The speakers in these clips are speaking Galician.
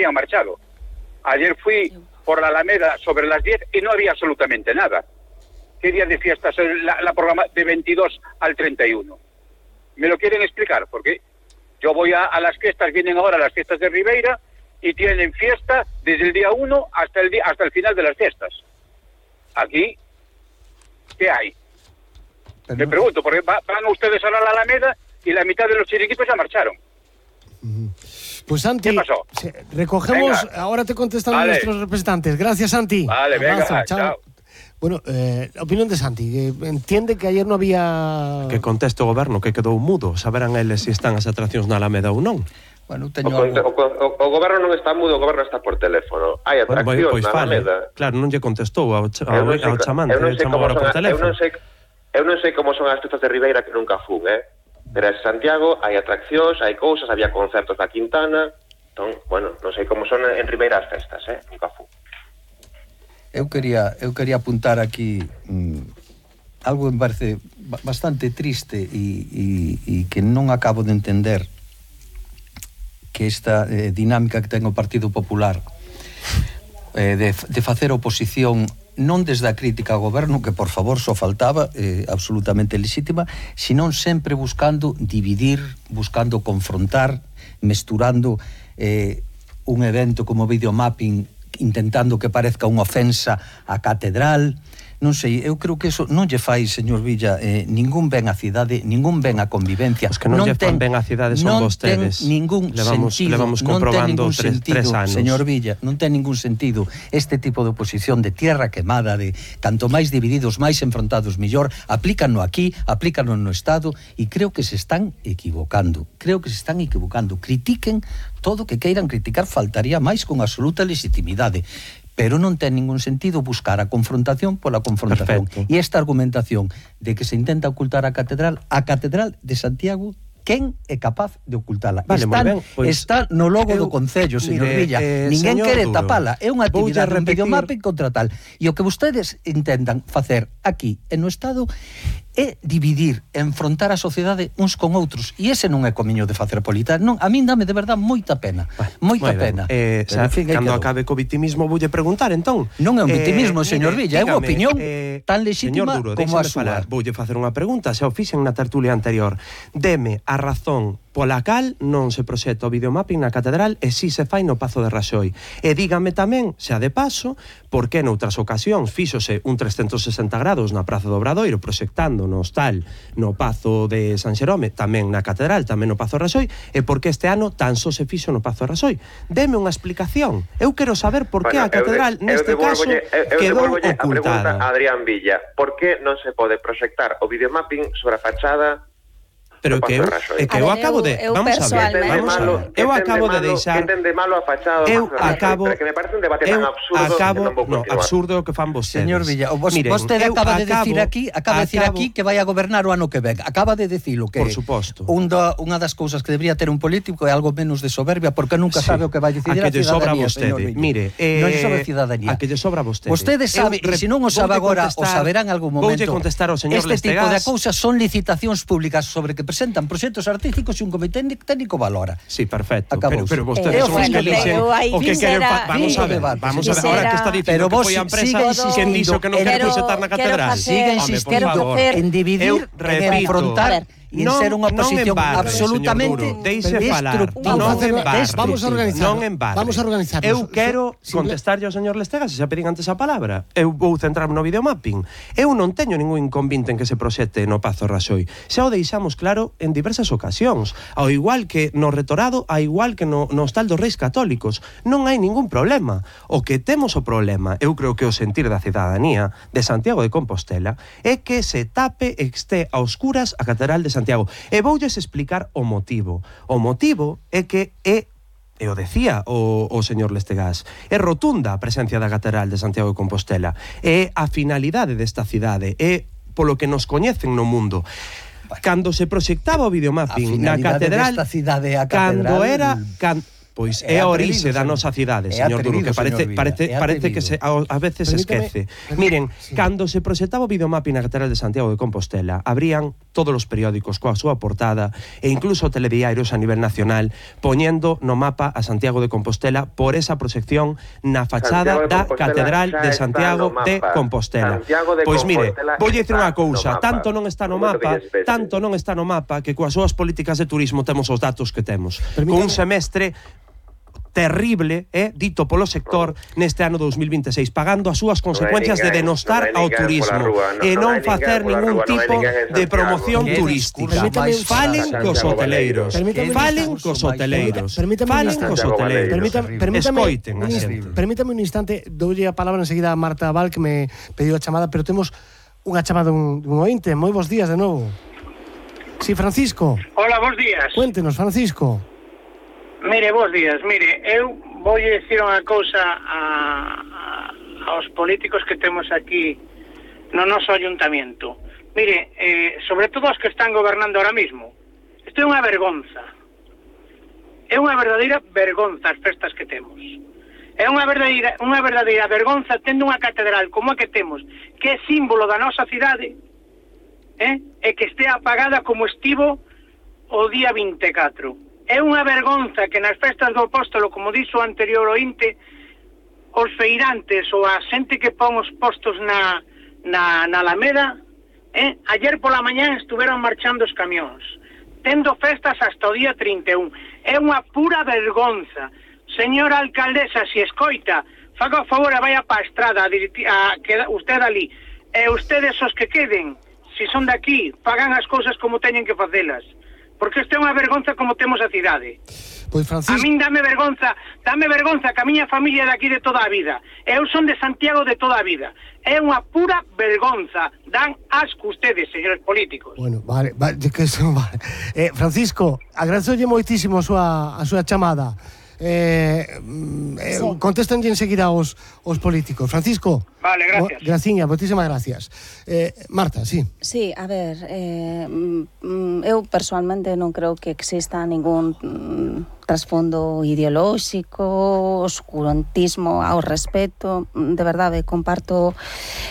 habían marchado. Ayer fui por la Alameda sobre las 10 y no había absolutamente nada. ¿Qué día de fiestas es la programa de 22 al 31? ¿Me lo quieren explicar? Porque yo voy a las fiestas, vienen ahora las fiestas de Ribeira y tienen fiesta desde el día 1 hasta el final de las fiestas. Aquí, ¿qué hay? Me pregunto, porque van ustedes ahora a la Alameda y la mitad de los chiringuitos ya marcharon. Pues Santi, ¿qué pasó? Recogemos, venga. ahora te contestan nuestros representantes. Gracias, Santi. Vale, abrazo, venga, chao. Bueno, opinión de Santi, que entiende que ayer no había... Que conteste o goberno, que quedou mudo. Saberán eles se están as atraccións na Alameda ou non. Bueno, teño o goberno non está mudo, o goberno está por teléfono. Hai atraccións pois na Alameda. Claro, non lle contestou ao chamante, chamou agora por teléfono. Eu non sei como son as fiestas de Ribeira, que nunca fun, pero en Santiago hai atraccións, hai cousas, había concertos da Quintana. Entón, bueno, non sei como son en Ribeira as festas, nunca fun. Eu quería apuntar aquí algo que me parece bastante triste e que non acabo de entender, que esta dinámica que ten o Partido Popular de facer oposición non desde a crítica ao goberno, que por favor só faltaba, absolutamente legítima, sino sempre buscando dividir, buscando confrontar, mesturando un evento como videomapping, intentando que parezca unha ofensa á catedral. Non sei, eu creo que eso non lle fai, señor Villa, ningún ben á cidade, ningún ben á convivencia. Os que non lle fan ben á cidade son vostedes. Non ten ningún sentido, levamos comprobando tres anos. Señor Villa, non ten ningún sentido este tipo de oposición de tierra quemada, de canto máis divididos, máis enfrontados mellor. Aplícanlo aquí, aplícanlo no Estado, e creo que se están equivocando. Critiquen todo o que queiran criticar, faltaría máis, con absoluta legitimidade. Pero non ten ningún sentido buscar a confrontación pola confrontación. Perfecto. E esta argumentación de que se intenta ocultar a Catedral de Santiago, quen é capaz de ocultala? Vale, está no logo do Concello, señor Villa. Ninguén quere tapala. É unha actividade, un videomapping contra tal. E o que vostedes intentan facer aquí e no Estado é dividir, enfrontar a sociedade uns con outros, e ese non é comiño de facer política. Non, a min dame de verdad moita pena, moita pena. Cando acabe co vitimismo voulle preguntar, entón. Non é un vitimismo, señor Villa, é unha opinión tan legítima como a súa. Voulle facer unha pregunta, xa o fixen na tertulia anterior. Deme a razón pola cal non se proxecta o videomapping na catedral e si se fai no Pazo de Raxoi. E dígame tamén, xa de paso, por que noutras ocasións fíxose un 360 grados na Praza do Obradoiro proxectando no hostal, no Pazo de San Xerome, tamén na catedral, tamén no Pazo de Raxoi, e por que este ano tan só se fixo no Pazo de Raxoi. Deme unha explicación. Eu quero saber por que a catedral neste caso quedou ocultada. A pregunta a Adrián Villa, por que non se pode proxectar o videomapping sobre a fachada? Pero que eu acabo de... Vamos a ver. Eu acabo de deixar... Que entende malo a fachada do Pazo de Raxoi, que me parece un debate tan absurdo que non vou continuar. Absurdo que fan vostedes. Señor Villa, vostede acaba de decir aquí que vai a gobernar o ano que ven. Acaba de dicilo que... Por suposto. Unha das cousas que debería ter un político é algo menos de soberbia, porque nunca sabe o que vai decidir a cidadanía, señor Villa. Mire, non lle sobra a cidadanía. A que lle sobra a vostede. Vostede sabe, e se non o sabe agora, o saberá en algún momento. Voulle contestar ao señor Lestegas. Este tipo de cousas son licitacións públicas sobre que presentan proxectos artísticos e un comité técnico valora. Sí, perfecto. Acabouse. Pero vostedes son os que elixen o que queren... Vamos a ver, ahora que está dicindo que foi a empresa quen dixo que non quere proxectar na catedral. Sigue insistindo en dividir, en enfrontar e en ser unha oposición absolutamente destructiva. Vamos a organizarnos. Eu quero contestarlle ao señor Lestegas, se xa pedín antes a palabra. Eu vou centrarme no videomapping. Eu non teño ningún inconvinte en que se proxete no Pazo Raxoi. Xa o deixamos claro en diversas ocasións. Ao igual que no Retorado, ao igual que no Hostal dos Reis Católicos. Non hai ningún problema. O que temos o problema, eu creo que o sentir da cidadanía de Santiago de Compostela, é que se tape e este a oscuras a Catedral de Santiago. E voulles explicar o motivo. O motivo é que e o decía o señor Lestegas, é rotunda a presencia da Catedral de Santiago de Compostela. É a finalidade desta cidade, é polo que nos coñecen no mundo. Cando se proxectaba o videomapping na catedral, desta cidade a catedral, Pois é a orixe da nosa cidade, señor Duro, que parece que a veces se esquece. Miren, cando se proxectaba o videomapping na Catedral de Santiago de Compostela, abrían todos os periódicos coa súa portada e incluso telediarios a nivel nacional poñendo no mapa a Santiago de Compostela por esa proxección na fachada da Catedral de Santiago de Compostela. Pois mire, voulle dicir unha cousa, tanto non está no mapa que coas súas políticas de turismo temos os datos que temos. Con un semestre terrible, dito polo sector neste ano 2026, pagando as súas consecuencias de denostar ao turismo e non facer ningún tipo de promoción turística. Falen cos hoteleiros. Escoiten a xente. Permítame un instante, doulle a palabra enseguida a Marta Val, que me pediu a chamada, pero temos unha chamada dun ointe. Moi bons días de novo. Sí, Francisco. Hola, bons días. Cuéntenos, Francisco. Mire, bons días. Mire, eu vou dicir unha cousa aos políticos que temos aquí no noso ayuntamiento. Mire, sobre todo os que están gobernando ahora mismo. Isto é unha vergonza. É unha verdadeira vergonza as festas que temos. É unha verdadeira vergonza tendo unha catedral como a que temos, que é símbolo da nosa cidade, e que estea apagada como estivo o día 24. É unha vergonza que nas festas do Apóstolo, como dixo o anterior ointe, os feirantes ou a xente que pon os postos na Alameda, ayer pola mañán estuveron marchando os camións, tendo festas hasta o día 31. É unha pura vergonza. Señora alcaldesa, se escoita, faga o favor e vaya pa estrada, queda usted ali, e ustedes os que queden, se son daqui, fagan as cousas como teñen que facelas. Porque isto é unha vergonza como temos a cidade. Pois Francisco, a min dame vergonza que a miña familia é daqui de toda a vida. Eu son de Santiago de toda a vida. É unha pura vergonza. Dan asco ustedes, señores políticos. Bueno, vale. Francisco, agradezolle moitísimo a súa chamada. Contéstanlle enseguida os políticos. Francisco. Vale, gracias. Graciña, moitísimas gracias. Marta, sí. Sí, a ver, eu personalmente non creo que exista ningún trasfondo ideolóxico, oscurantismo ao respecto. De verdade, comparto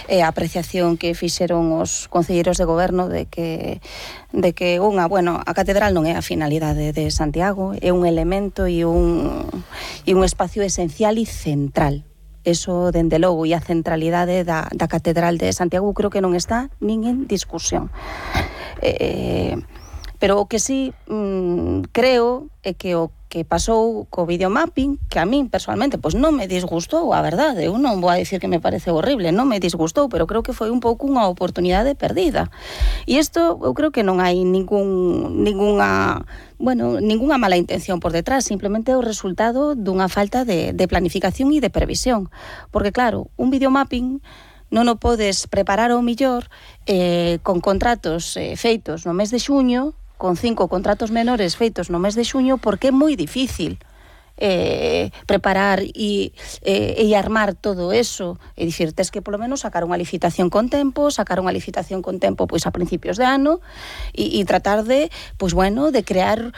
a apreciación que fixeron os concelleiros de goberno de que a catedral non é a finalidade de Santiago, é un elemento e un espacio esencial e central. Eso, dende logo, e a centralidade da catedral de Santiago creo que non está nin en discusión. Pero o que sí creo é que o que pasou co videomapping, que a min personalmente pois non me disgustou, a verdade, eu non vou a dicir que me parece horrible, non me disgustou, pero creo que foi un pouco unha oportunidade perdida. E isto eu creo que non hai ningunha mala intención por detrás, simplemente é o resultado dunha falta de planificación e de previsión. Porque claro, un videomapping non o podes preparar ao millor con contratos feitos no mes de xuño, con 5 contratos menores feitos no mes de xuño, porque é moi difícil preparar e armar todo eso. É dicir, tes que polo menos sacar unha licitación con tempo pois a principios de ano e tratar de crear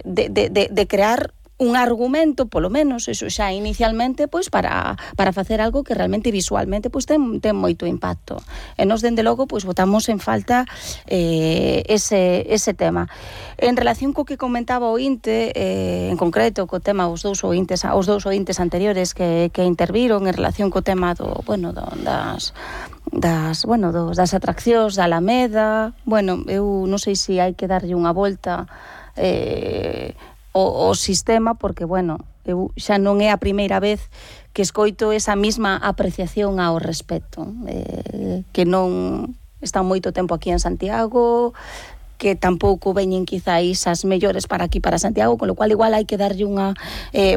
de crear un argumento, polo menos, eso xa inicialmente, pois para facer algo que realmente visualmente pois ten moito impacto. E nos, dende logo, pois votamos en falta ese tema. En relación co que comentaba o ointe, en concreto co tema os dous ointes anteriores que interviron en relación co tema das atraccións da Alameda, eu non sei se hai que darlle unha volta o sistema, porque, eu xa non é a primeira vez que escoito esa mesma apreciación ao respecto, que non está moito tempo aquí en Santiago, que tampouco veñen quizáis as mellores para aquí, para Santiago, con lo cual igual hai que darlle unha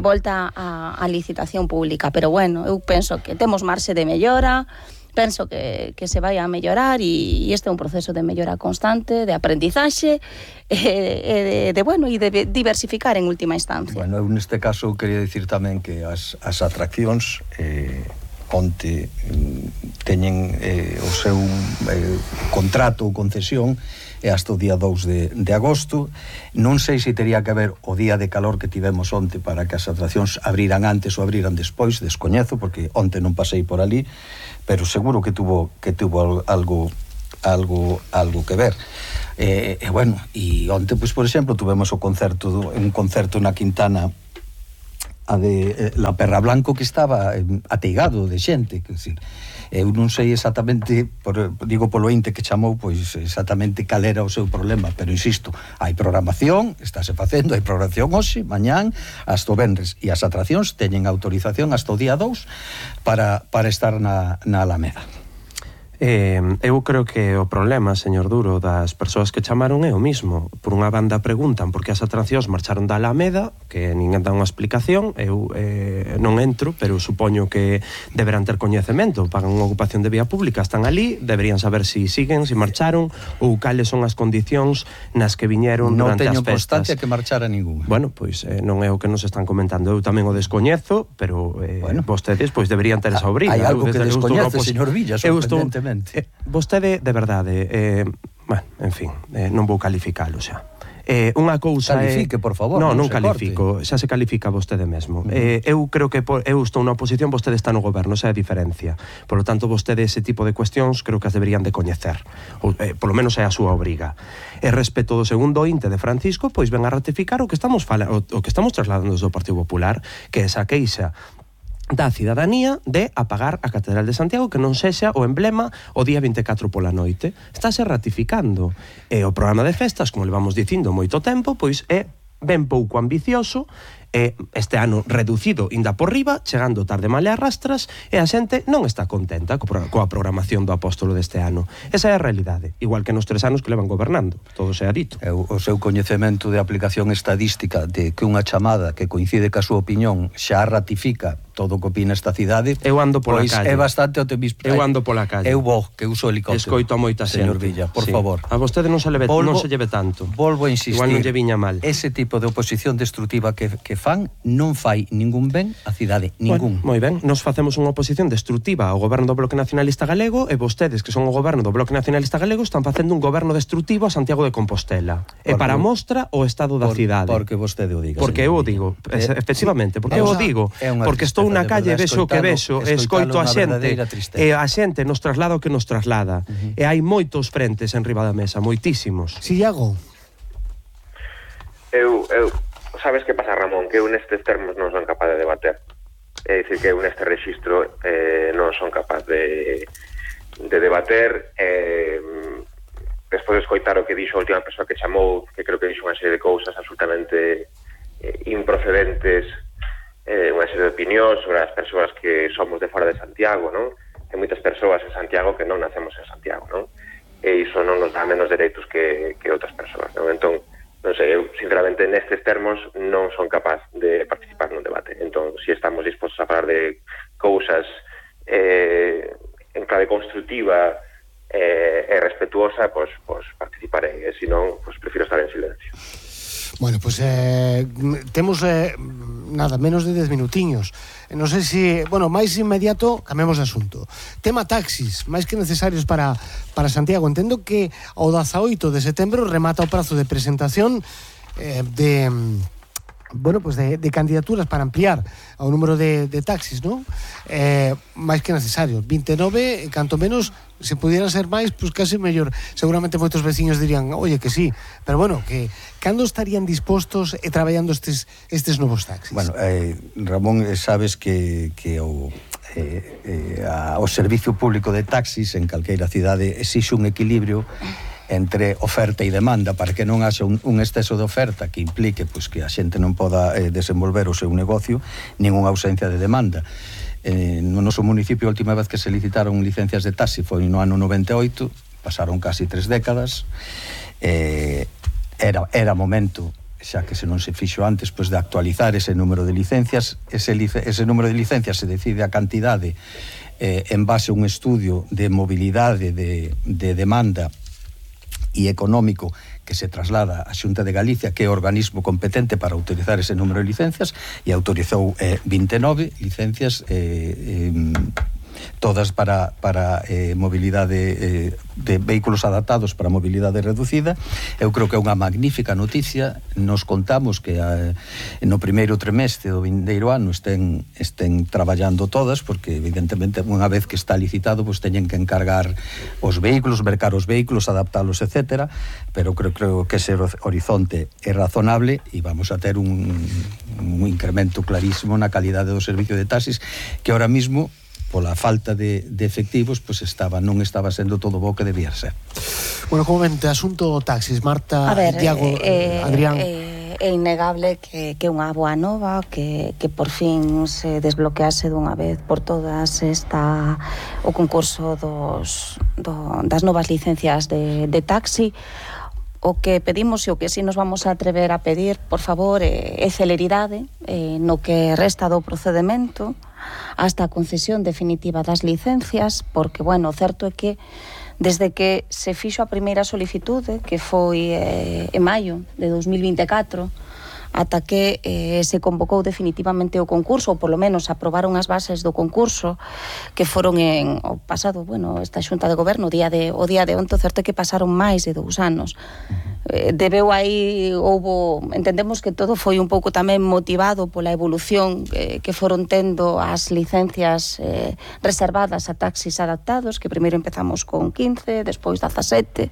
volta á licitación pública, pero eu penso que temos marxe de mellora, penso que se vai a mellorar e este é un proceso de mellora constante, de aprendizaxe e de diversificar en última instancia. Eu neste caso quería dicir tamén que as atraccións onte teñen o seu contrato ou concesión e hasta o día 2 de agosto. Non sei se teria que haber o día de calor que tivemos onte para que as atraccións abriran antes ou abriran despois, descoñezo, porque onte non pasei por ali, pero seguro que tuvo algo que ver. Bueno, e onte, pois, por exemplo, tuvemos un concerto na Quintana de La Perra Blanco, que estaba ateigado de xente, que decir, eu non sei exactamente, digo polo inte que chamou, pois exactamente cal era o seu problema, pero insisto, hai programación, estáse facendo, hai programación hoxe, mañán, hasta o venres, e as atraccións teñen autorización hasta o día 2 para estar na Alameda. Eu creo que o problema, señor Duro, das persoas que chamaron é o mismo. Por unha banda preguntan por que as atraccións marcharon da Alameda, que ninguén dá unha explicación. Eu non entro, pero supoño que deberán ter coñecemento, pagan unha ocupación de vía pública, están ali, deberían saber si siguen, si marcharon, ou cales son as condicións nas que viñeron durante as festas. Non teño constancia que marchara ningún. Bueno, pois non é o que nos están comentando. Eu tamén o descoñezo, pero vostedes pois deberían ter esa obriga. Hai algo que descoñece, señor Villa, sorprendentemente. Vostede, de verdade, bueno, en fin, non vou calificalo xa. Unha cousa califique, por favor. Non califico, xa se califica vostede mesmo. Eu creo que eu estou na oposición, vostede está no goberno, esa é a diferencia. Por lo tanto, vostede ese tipo de cuestións creo que as deberían de coñecer. Por lo menos é a súa obriga. E respecto do segundo inte de Francisco, pois ven a ratificar o que estamos trasladando do Partido Popular, que é esa queixa da cidadanía de apagar a Catedral de Santiago, que non sexa o emblema o día 24 pola noite. Estáse ratificando. E o programa de festas, como le vamos dicindo moito tempo, pois é ben pouco ambicioso, este ano reducido inda por riba, chegando tarde mal e arrastras, e a xente non está contenta coa programación do apóstolo deste ano. Esa é a realidade, igual que nos 3 anos que levan gobernando, todo se ha dito. O seu coñecemento de aplicación estadística de que unha chamada que coincide ca súa opinión xa ratifica todo o que opina esta cidade, eu ando pola calle. É bastante optimista. Eu ando pola calle. Eu vou, que uso helicóptero. Escoito a moita xente. Señor Villa, por favor. A vostede non se lleve tanto. Volvo a insistir. Igual non lle viña mal. Ese tipo de oposición destructiva que fan non fai ningún ben á cidade, ningún. Moi ben, nos facemos unha oposición destrutiva ao goberno do Bloque Nacionalista Galego e vostedes, que son o goberno do Bloque Nacionalista Galego, están facendo un goberno destrutivo a Santiago de Compostela. E para mostra o estado da cidade. Porque vostede o diga. Porque eu o digo, efectivamente, porque eu o digo. Porque estou na calle, vexo o que vexo, escoito a xente, e a xente nos traslada o que nos traslada. E hai moitos frentes en riba da mesa, moitísimos. Si, Iago. Eu sabes que pasa, Ramón, que eu nestes termos non son capaz de debater. É dicir, que eu neste rexistro non son capaz de debater. Despois de escoitar o que dixo a última persoa que chamou, que creo que dixo unha serie de cousas absolutamente improcedentes, unha serie de opinións sobre as persoas que somos de fora de Santiago, non? Hai moitas persoas en Santiago que non nacemos en Santiago, non? E iso non nos dá menos dereitos que outras persoas, non? Entón, non sei, eu sinceramente nestes termos non son capaz de participar nun debate. Entón, se estamos dispostos a falar de cousas en clave constructiva e respetuosa, pois participarei, e se non, pois prefiro estar en silencio. Bueno, pois temos nada, menos de 10 minutiños. Non sei se, bueno, máis inmediato cambiamos de asunto. Tema taxis, máis que necesarios para Santiago. Entendo que ao 18 de setembro remata o prazo de presentación de candidaturas para ampliar o número de taxis, non? Máis que necesarios. 29, canto menos, se pudieran ser máis, pois casi mellor. Seguramente moitos veciños dirían, oye, que sí. Pero bueno, que cando estarían dispostos e traballando estes novos taxis? Bueno, Ramón, sabes que o servicio público de taxis en calqueira cidade exixe un equilibrio entre oferta e demanda para que non haxa un exceso de oferta que implique pois, que a xente non poda desenvolver o seu negocio, nin unha ausencia de demanda. No noso municipio, a última vez que se licitaron licencias de taxi foi no ano 98, pasaron casi 3 décadas. Era momento, xa que se non se fixo antes, pois de actualizar ese número de licencias. Ese número de licencias se decide a cantidade en base a un estudio de mobilidade de demanda e económico que se traslada á Xunta de Galicia, que é o organismo competente para utilizar ese número de licencias, e autorizou 29 licencias todas para mobilidade de vehículos adaptados para mobilidade reducida. Eu creo que é unha magnífica noticia. Nos contamos que no primeiro trimestre do vindeiro ano estén traballando todas, porque evidentemente unha vez que está licitado pois teñen que encargar os vehículos, mercar os vehículos, adaptalos, etcétera, pero creo que ese horizonte é razonable e vamos a ter un incremento clarísimo na calidade do servicio de taxis, que ahora mismo pola falta de efectivos pois non estaba sendo todo bo que debía ser. Bueno, como vente, asunto taxis, Marta, Diago, Adrián. É innegable que unha boa nova que por fin se desbloquease dunha vez por todas o concurso das novas licencias de taxi. O que pedimos e o que si nos vamos a atrever a pedir, por favor, é celeridade no que resta do procedemento hasta a concesión definitiva das licencias, porque, bueno, certo é que desde que se fixo a primeira solicitude, que foi en maio de 2024, ata que se convocou definitivamente o concurso, ou polo menos aprobaron as bases do concurso, que foron o pasado, esta xunta de goberno, o día de onte, certo é que pasaron máis de 2 anos. Debeu aí, entendemos que todo foi un pouco tamén motivado pola evolución que foron tendo as licencias reservadas a taxis adaptados, que primeiro empezamos con 15, despois 17,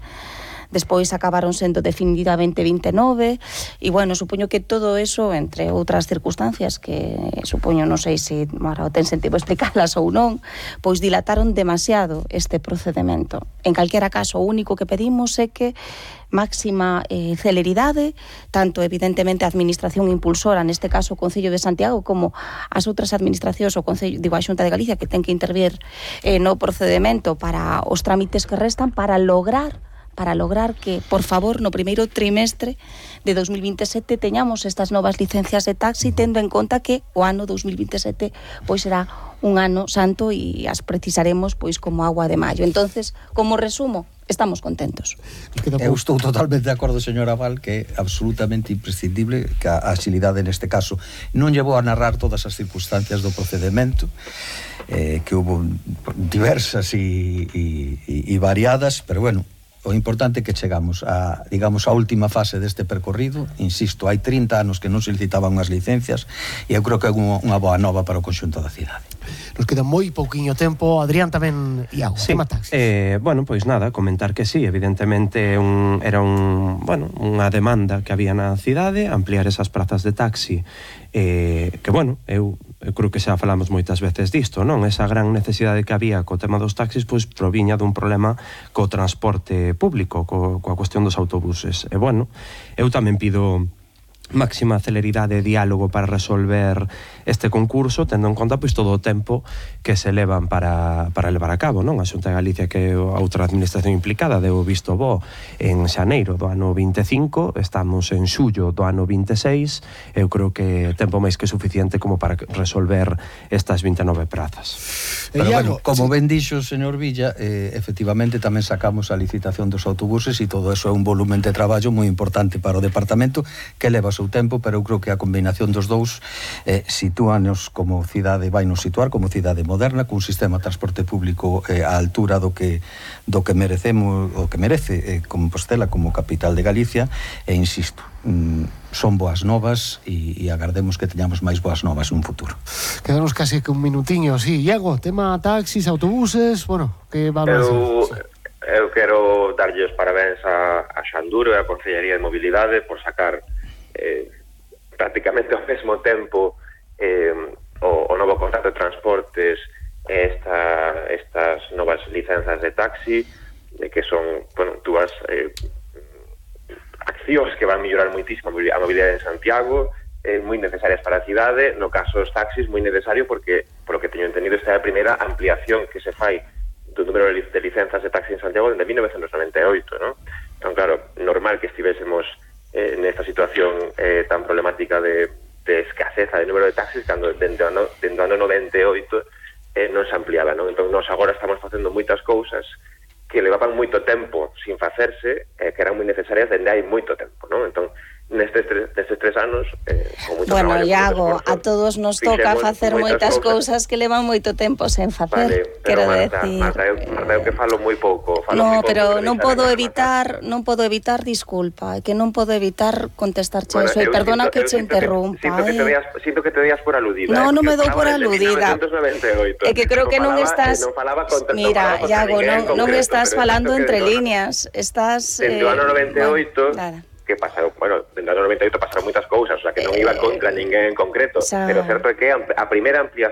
despois acabaron sendo definitivamente 29 e, supoño que todo eso, entre outras circunstancias que supoño, non sei se ahora ten sentido explicarlas ou non, pois dilataron demasiado este procedimento. En calquera caso, o único que pedimos é que máxima celeridade, tanto evidentemente a administración impulsora, neste caso o Concello de Santiago, como as outras administracións, o Concello, a Xunta de Galicia, que ten que intervir no procedimento para os trámites que restan, para lograr que, por favor, no primeiro trimestre de 2027 teñamos estas novas licencias de taxi, tendo en conta que o ano 2027 pois será un ano santo e as precisaremos pois como agua de maio. Entonces, como resumo, estamos contentos. Eu estou totalmente de acordo, señora Val, que é absolutamente imprescindible que a agilidade neste caso. Non llevou a narrar todas as circunstancias do procedimento, que hubo diversas e variadas, pero o importante é que chegamos a última fase deste percorrido. Insisto, hai 30 anos que non se licitaban unhas licencias e eu creo que é unha boa nova para o conxunto da cidade. Nos queda moi pouquiño tempo. Adrián tamén, Iago, sí. Tema taxis. Pois nada, comentar que sí, evidentemente era unha demanda que había na cidade, ampliar esas prazas de taxi, que eu creo que xa falamos moitas veces disto, non? Esa gran necesidade que había co tema dos taxis pois proviña dun problema co transporte público, coa cuestión dos autobuses. E eu tamén pido máxima celeridade e diálogo para resolver este concurso, tendo en conta pois todo o tempo que se levan para levar a cabo, non? A Xunta de Galicia, que é a outra administración implicada, deu visto bo en xaneiro do ano 25, estamos en xullo do ano 26, eu creo que tempo máis que suficiente como para resolver estas 29 prazas. Pero como ben dixo o señor Villa, efectivamente tamén sacamos a licitación dos autobuses e todo eso é un volumen de traballo moi importante para o departamento que leva o seu tempo, pero eu creo que a combinación dos dous sitúanos como cidade, vai nos situar como cidade moderna, cun sistema de transporte público á altura do que merecemos, o que merece Compostela como capital de Galicia, e insisto, son boas novas e agardemos que teñamos máis boas novas nun futuro. Quedanos casi que un minutiño, sí. Iago, tema taxis, autobuses, que valoración? Eu quero darlle os parabéns a Xanduro e a Consellería de Mobilidade por sacar prácticamente ao mesmo tempo o novo contrato de transportes e estas novas licenzas de taxi, que son dúas accións que van mellorar moitísimo a mobilidade en Santiago, moi necesarias para a cidade. No caso dos taxis, moi necesario porque, por lo que teño entendido, esta é a primeira ampliación que se fai do número de licencias de taxi en Santiago desde 1998, ¿no? Entón, claro, normal que estivésemos nesta situación tan problemática de escaseza de número de taxis cando dentro do ano 98 non se ampliaba, non? Entón, nós agora estamos facendo moitas cousas que levaban moito tempo sin facerse, que eran moi necesarias dende hai moito tempo, non? Entón, nestes 3 anos, con moito bueno, traballo, Iago, con moito a todos nos toca facer moitas cousas que levan moito tempo sen facer, vale, quero Marta, decir. Marta, eu que falo moi pouco. No, pero non podo evitar, disculpa, que non podo evitar contestarche eso, e perdona que che interrumpa. Sinto que te veas por aludida. No, non me dou por aludida. É que creo que non estás... Mira, Iago, non estás falando entre líneas, estás... Dentro do ano 98... Nada. Que pasaron, bueno, dentro do 98 pasaron moitas cousas, o sea, que non iba contra ninguén en concreto, pero o certo é que a primeira ampliación